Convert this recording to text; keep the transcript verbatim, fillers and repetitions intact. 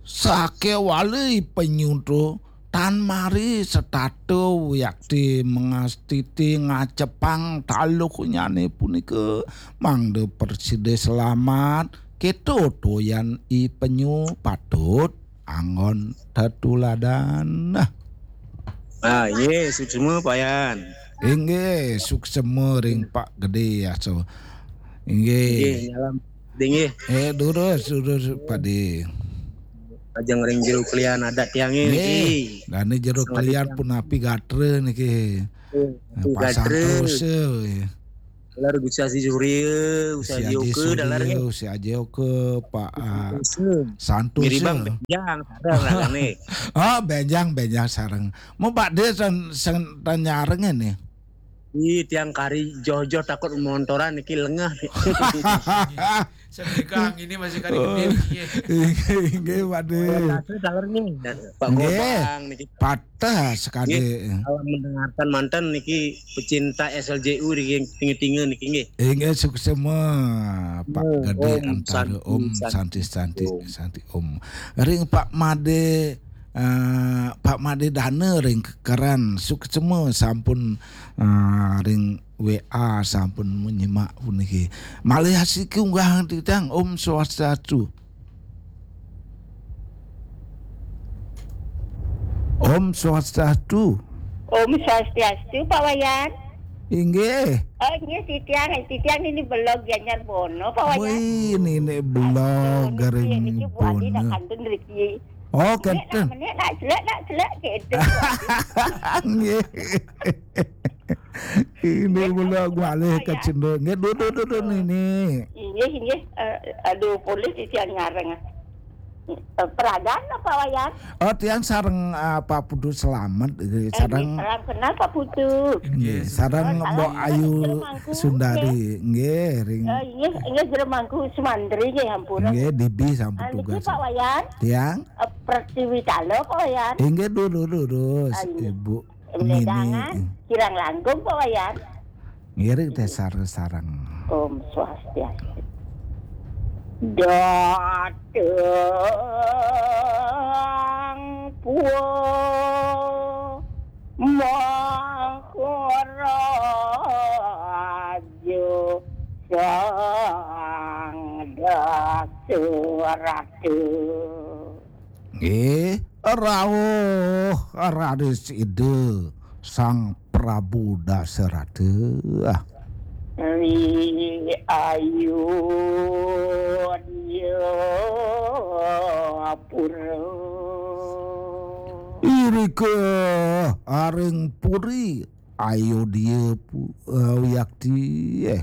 Sakéwala i penyu to tan mari setata wiakti mangastiti ngacepang taluhnyané punika mangda prasida selamat. Kéto toyan i penyu patut anggon tetuladan. Nah. Ah, iya, suksma, Pak Yan. Inggih, suksma ring Pak Gedé, aso. Inggih. Inggih, nyalam. Inggih. Eh, durus, durus, Pak Dé. Ajeng ring jero klian adat tiangé niki. Nggih, dané jero klian punapi gatra niki. Eh, Pak gatra. Santosa, ya. Taler Gusti Aji Surya, Gusti Aji Oka, taler nggih. Gusti Aji Oka, Pak, ah, Santosa. Miribang benjang, sareng lagane. Oh, benjang, benjang sareng. Mau Pak Dé sen, sen, tan nyareng ini. Ih, tiang kari joh-joh takut montoran niki lengeh. Sendika ini masih kari gedé niki. Inggih, inggih, Pak Dé. Taler nggih. Pak Gobang niki. Patah sekali. Nggih, kalau mendengarkan manten niki pecinta S L J U niki tinga-tinga niki nggih. Inggih, suksma Pak Gedé Antara Om Santi, Santi, Santi Om. Ring Pak Madé, eh, Pak Madé Dana ring Kekeran, suksma sampun, eh, ring W A sampun menyimak puniki. Malih asiki unggah titiang. Om Swastiastu. Om Swastiastu. Om Swastiastu, Pak Wayan. Inggih. Oh, inggih, titiang, titiang ini belog Gianyar Bono, Pak Wayan. Wih, ini, ini belog Bono, garing niki Bu Adi nak Bono. Kantun riki. Oh, kenten. Menek nak, menek nak, celek nak, celek, gitu. Nggih. Ini mula gua alih ke cendol. Nggih, duduk, duduk, ini. Inggih, inggih. Eh, aduh, polih titiang nyareng. Eh, Pragan apa, Wayan? Oh, tiang sareng, ah, Pak Putu Selamat, eh, eh, sareng, salam kenal, Pak Putu. Nggih, sareng, oh, Mbok Ayu Sundari. Nggih, ring. Eh, inggih, inggih, Jero Mangku Sumantri, nggih, ampun. Nggih, Dibi sampun tugas. Pak Wayan. Tiang. Eh, Pertiwi Talo, Pak Wayan. Inggih, dulu, dulu, ah, inggih. Ibu. Ledangan, kirang langkung, Pak Wayan. Ngiring teh sareng-sareng. Om Swastiastu. Dateng Pulo Maharaja Sang Dasarata. Nggih, rauh raris Ida Sang Prabu Dasarata. Ri Ayodya Pura. Irika aring puri Ayodya pu-, eh, wiakti, eh.